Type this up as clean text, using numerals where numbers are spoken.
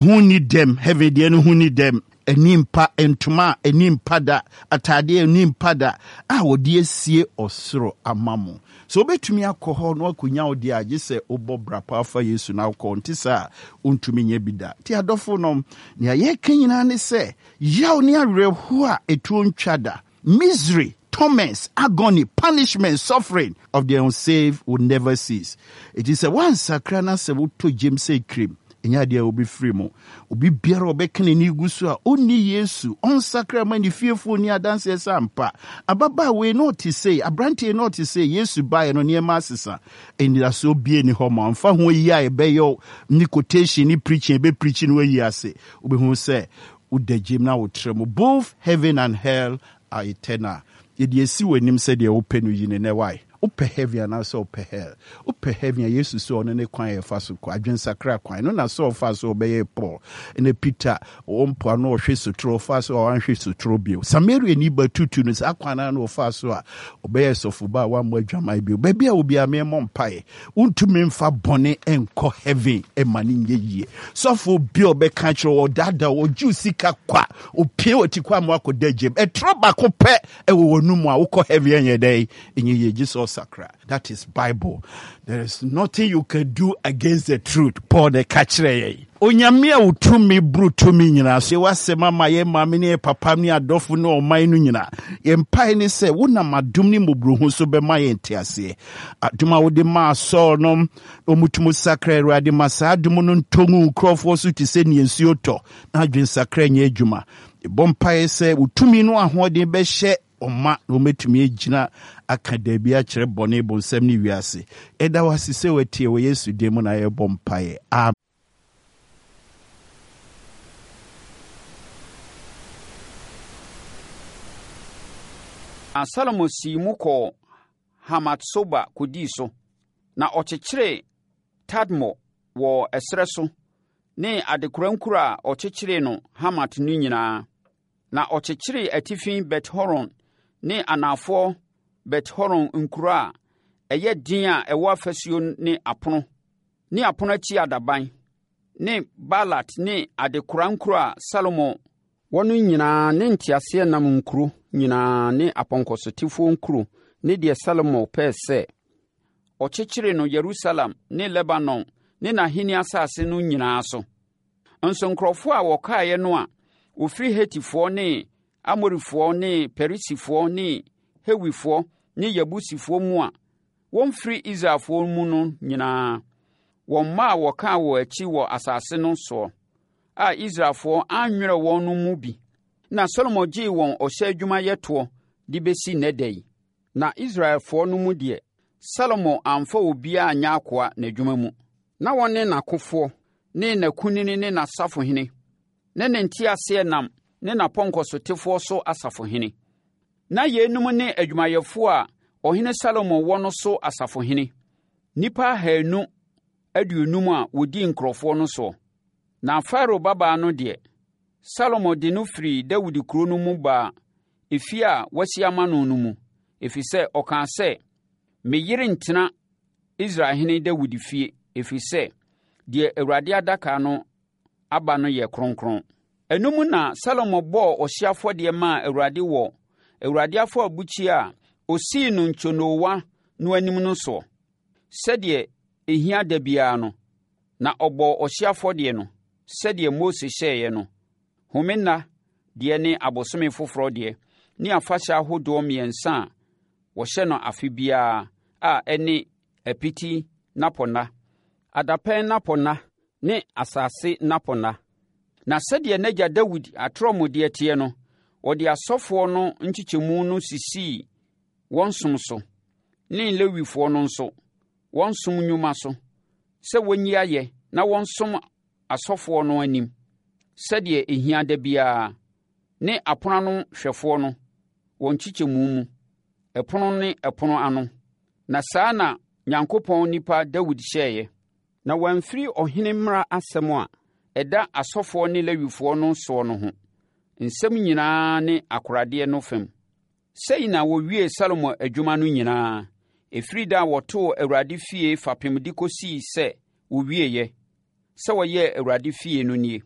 Ho nni dɛm, heaven deɛ no ho nni dɛm. Ani mpa, ntoma a ani mpa da, ataadeɛ a ani mpa da a wɔde asie ɔsoro ama mo. Sɛ wobɛtumi akɔ hɔ na woakɔnya wo deɛ a, gye sɛ wobɔ bra paa fa Yesu na wokɔ, nte saa a, wontumi nyɛ bi da. Nti adɔfo nom, nea yɛreka nyinaa ne sɛ, yaw ne awerɛhoɔ a ɛtuo ntwa da, Misery, torments, agony, punishment, suffering of the unsaved will never cease. Enti sɛ woansakra na sɛ wotɔ gyam sɛ kirim, ɛnyɛ adeɛ a wobɛfiri mu. Obi biara a ɔbɛka n'ani gu so a ɔnni Yesu, ɔnsakra ma ne fiefoɔ nni adanseɛ sɛ ampa, ababaawa yi na ɔte sei, aberanteɛ yi na ɔte sei, Yesu baeɛ no nneɛma asesa. Anidasoɔ biara nni hɔ ma wo. Mfa ho ayi a ɛbɛyɛ wo ne quotation ne preaching a ɛbɛpreachi no ayi ase, wobɛhu sɛ Woda gyem na wotra mu. Both heaven and hell are eternal. Yɛde asi w'anim sɛ deɛ wopɛ no yi no nnɛ why? Wopɛ heaven anaasɛ wopɛ hell? Wopɛ heaven a Yesu sɛ ɔno ne kwan a yɛfa so kɔ, adwensakra kwan. Ɛno na Saul faa so ɔbɛyɛɛ Paul. Ɛna Peter ɔwɔ mpoano ɔhwe sotoro, ɔfaa so a wanhwe sotoro bio. Samariani ba tutu no saa kwan no ara na ɔfaa so a ɔbɛyɛɛ sɔfoba a wammɔ adwaman bio. Baabi a wɔ biara memmɔ mpaeɛ. Wontumi mfa bɔne nkɔ heaven ma no nyɛ yie. Sɔfo bi a ɔbɛka kyerɛ wɔ ɔdaadaa ɔgye sika kwa, opie wɔ ti kwa ma akɔda gyem. Ɛtorɔ baako pɛ ɛwɔ wɔn mu a wokɔ heaven ɛnyɛ dɛn ɛnyɛ yie gye sɛ ɔsakra. That is Bible. There is nothing you can do against the truth. Paul na ɛka kyerɛ yɛn. Onyame a wo tumi boro tumi nyinaa so, w'asɛm ama yɛn maame ne yɛn papa ne adɔfo ne ɔman no nyinaa. Yɛn mpae ne sɛ wonam adom ne mmɔborɔhu so bɛma yɛn nteaseɛ. Adom a wode maa Saul no, wɔtumi sakra Awurade ma saa adom no ntɔ ngu nkurɔfoɔ so te sɛ nea nsuo tɔ na adwensakra nyɛ adwuma. Yɛbɔ mpaeɛ sɛ wo tumi no ahoɔden bɛhyɛ wɔn ma na wɔatumi agyina aka daabi akyerɛ bɔne, bonsam ne wiase. Yɛda wo ase sɛ woatie wɔ Yesu din mu na yɛbɔ mpaeɛ. Amen. Na Salomo sii mu kɔɔ Hamat-Soba kɔdii so, na ɔkyekyeree Tadmor wɔ ɛserɛ so ne adekora nkuro a ɔkyekyeree no Hamat no nyinaa. Na ɔkyekyeree atifi Bet-Horon ne anafoɔ Bet-Horon nkuro a ɛyɛ den a ɛwɔ afasuo ne apono ne apono akyi adaban ne Baalat ne adekora nkuro a Salomo wɔ no nyinaa ne nteaseɛnam nkuro nyinaa ne apɔnkɔsotefoɔ nkuro ne deɛ Salomo pɛɛ sɛ ɔkyekyere no Yerusalem ne Lebanon ne n'ahennie asase no nyinaa so. Nso nkurɔfoɔ a wɔkaeɛ no a wɔfiri Hetifoɔ ne Amorifoɔ ne Perisifoɔ ne Hewifoɔ ne Yebusifoɔ mu a wɔmfiri Israelfoɔ mu no nyinaa, wɔn mma a wɔkaa wɔn akyi wɔ asase no soɔ a Israelfoɔ annwerɛ wɔn no mu bi na Salomo gyee wɔn ɔhyɛ adwumayɛ toɔ de bɛsi nnɛ da yi. Na Israelfoɔ no mu deɛ, Salomo amfa obiara anyɛ akoa n'adwuma mu. Na wɔne n'akofoɔ ne n'akunini ne n'asafohene ne ne nteaseɛnam ne n'apɔnkɔsotefoɔ so asafohene. Na yeinom ne adwumayɛfoɔ a ɔhene Salomo wɔ no so asafohene, nnipa 250 a wɔdi nkurɔfoɔ no soɔ. Na Farao babaa no deɛ, Salomo de no firii Dawid kuro no mu baa efie a wasi ama no no mu, ɛfiri sɛ ɔkaa sɛ, Me yere rentena Israelhene Dawid fie, ɛfiri sɛ, deɛ Awurade adaka no aba no yɛ kronkron. Ɛno mu na Salomo bɔɔ ɔhyeɛ afɔdeɛ maa Awurade wɔ Awurade afɔrebukyia a ɔsii no ntwonoowa no anim no soɔ, sɛdeɛ ɛhia da biara no, na ɔbɔɔ ɔhyeɛ afɔdeɛ no, sɛdeɛ Mose hyɛeɛ no, home nna deɛ ne abosome foforɔ deɛ ne afahyɛ ahodoɔ mmiɛnsa a wɔhyɛ no afe biara a ɛne Apiti nnapɔnna, Adapɛn nnapɔnna ne Asase nnapɔnna. Na sɛdeɛ n'agya Dawid atorɔmudeɛ teɛ no, ɔde asɔfoɔ no nkyekyɛmu no sisii wɔn som so, ne Lewifoɔ no nso, wɔn som nnwuma so, sɛ wɔnyi ayɛ na wɔnsom asɔfoɔ no anim, sɛdeɛ ɛhia da biara, ne apono ano hwɛfoɔ no, wɔn nkyekyɛmu mu, ɛpono ne ɛpono ano. Na saa na Nyankopɔn nipa Dawid hyɛeɛ. Na wɔamfiri ɔhene mmara asɛm a ɛda asɔfoɔ ne Lewifoɔ no soɔ no ho, nsɛm nyinaa ne akoradeɛ no fam. Sei na wɔwiee Salomo adwuma no nyinaa, ɛfiri da a wɔtoo Awurade fie fapem de kɔsii sɛ wɔwieeɛ. sɛ ɔyɛɛ Awurade fie no nie: